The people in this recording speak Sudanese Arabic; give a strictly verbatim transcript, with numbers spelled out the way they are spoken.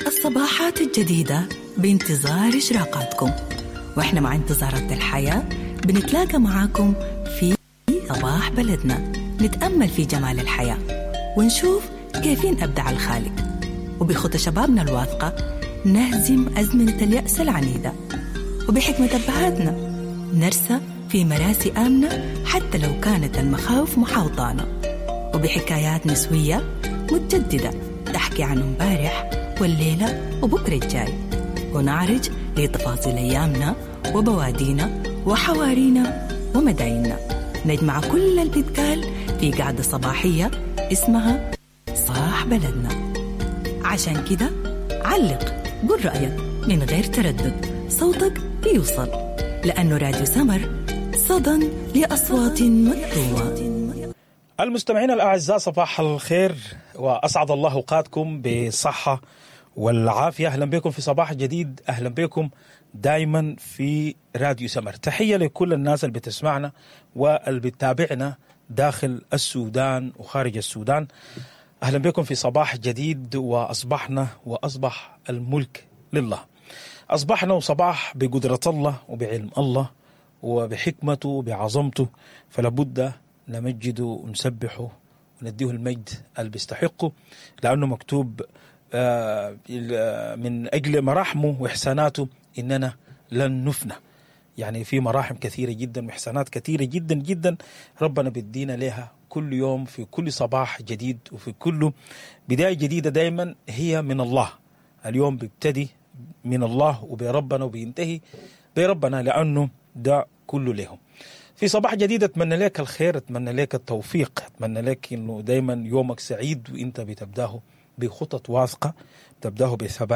الصباحات الجديدة بانتظار إشراقاتكم، وإحنا مع انتظارات الحياة بنتلاقى معاكم في صباح بلدنا، نتأمل في جمال الحياة ونشوف كيفين أبدع الخالق، وبخطى شبابنا الواثقة نهزم أزمنة اليأس العنيدة، وبحكمة أبهاتنا نرسى في مراسي آمنة حتى لو كانت المخاوف محاوطانا، وبحكايات نسوية متجددة تحكي عن امبارح والليلة وبكرة الجاي، ونعرج لتفاصيل أيامنا وبوادينا وحوارينا ومدايننا. نجمع كل اللي بيتقال في قعدة صباحية اسمها صاح بلدنا. عشان كده علق، قول رأيك من غير تردد، صوتك بيوصل، لأنه راديو سمر صدى لأصوات مكتومة. المستمعين الأعزاء، صباح الخير وأسعد الله أوقاتكم بالصحة والعافية. أهلا بكم في صباح جديد، أهلا بكم دايما في راديو سمر. تحية لكل الناس اللي بتسمعنا واللي بتتابعنا داخل السودان وخارج السودان. أهلا بكم في صباح جديد، وأصبحنا وأصبح الملك لله. أصبحنا وصباح بقدرة الله وبعلم الله وبحكمته وبعظمته، فلابد نمجده ونسبحه ونديه المجد اللي بيستحقه، لأنه مكتوب آه، من أجل مراحمه وإحساناته إننا لن نفنى. يعني في مراحم كثيرة جدا وإحسانات كثيرة جدا جدا ربنا بيدينا لها كل يوم في كل صباح جديد وفي كل بداية جديدة، دايما هي من الله. اليوم بيبتدي من الله وبربنا وبينتهي بربنا، لأنه ده كله لهم. في صباح جديد أتمنى لك الخير، أتمنى لك التوفيق، أتمنى لك إنه دايما يومك سعيد وإنت بتبداه بخطط واثقة، تبداه بثبات.